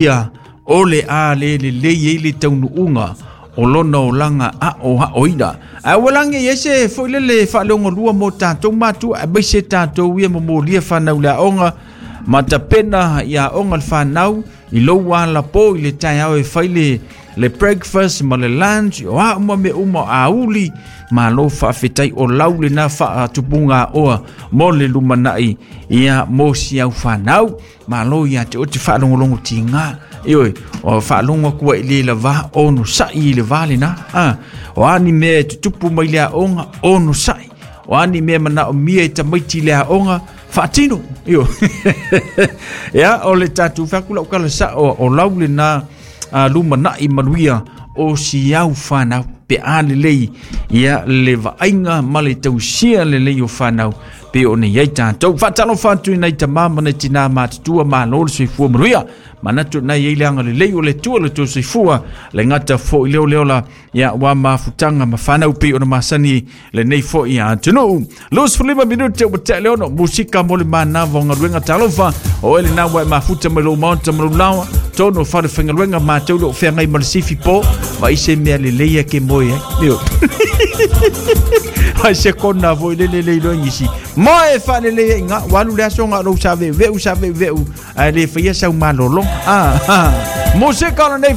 Ia o le a le lelei ai le taunuuga o lona olaga aoaoina. Ae ua lagi i ai se foi lele faaleogalua mo tatou matua aemaise tatou ia momolia fanau i le aoga ma tapena i aoga le fanau i lou alapo i le taeao e fai le breakfast ma le lunch, o a uma mea uma o auli. Malo faafetai, o lau lena faatupuga aoa mo le lumanai ia mo si au fanau. Malo ia te oe te faalogologo tiga. Ioe, o faalogo atu ai i le lava ono sa'i i le va lena. O a ni mea e tutupu mai le aoga, ono sa'i. O a ni mea manaomia e tamaiti i le aoga, faatino. Ioe. Ia, o le tatou fai atu lau tala sa'o, o lau lena lumanai manuia o si au fanau pe a lelei ia le vaaiga ma le tausia lelei o fanau pe o nei ai tatou. Faatalofa atu i nai tamā ma nai tinā matutua, malo le soifua manuia. Manatu nai ai le agalelei o le Atua le tou soifua le gata foi leo leola ia ua mafutaga ma fanau pei ona masani lenei foi atunuu. 25 minute ua tea le 6, musika mo le manava o galuega. Talofa o ele na ua e mafuta mai lou maota ma lou laoa tonu o fale faigaluega matou le o feagai ma le sifi po ma i se mea lelei ke moe ai. Io. Ai se kona foi le le le iloa ngisi. Moe faalelei ai ngā, walu le aso ngā lou sa veu veu sa veu veu, ai le faia sau malolo. Ah, ah. Musika o lenei.